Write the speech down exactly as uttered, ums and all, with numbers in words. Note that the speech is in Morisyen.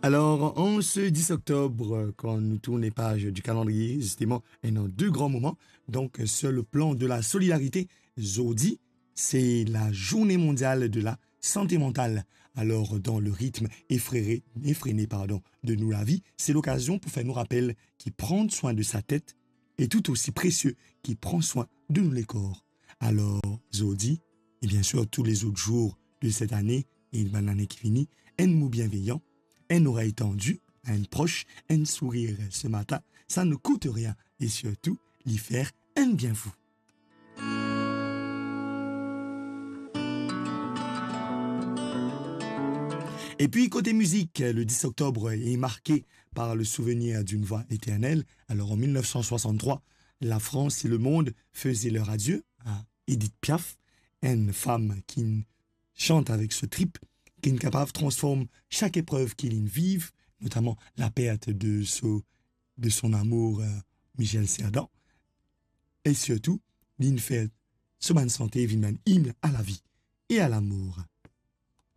Alors, en ce dix octobre, quand nous tournons les pages du calendrier, justement, il y a deux grands moments. Donc, sur le plan de la solidarité, zordi, c'est la journée mondiale de la santé mentale. Alors, dans le rythme effrayé, effréné, pardon, de nos la vie, c'est l'occasion pour faire nous rappeler qui prendre soin de sa tête est tout aussi précieux qui prend soin de nous les corps. Alors, zordi, et bien sûr tous les autres jours de cette année et de l'année qui finit, un mot bienveillant, un oreille tendue à un proche, un sourire ce matin, ça ne coûte rien et surtout, lui faire un bien fou. Et puis, côté musique, le dix octobre est marqué par le souvenir d'une voix éternelle. Alors, en mille neuf cent soixante-trois, la France et le monde faisaient leur adieu à Edith Piaf, une femme qui chante avec ce trip, qui est capable de transformer chaque épreuve qu'il vive, notamment la perte de son, de son amour, euh, Michel Cerdan, et surtout, d'une fête, ce man santé, une hymne à la vie et à l'amour.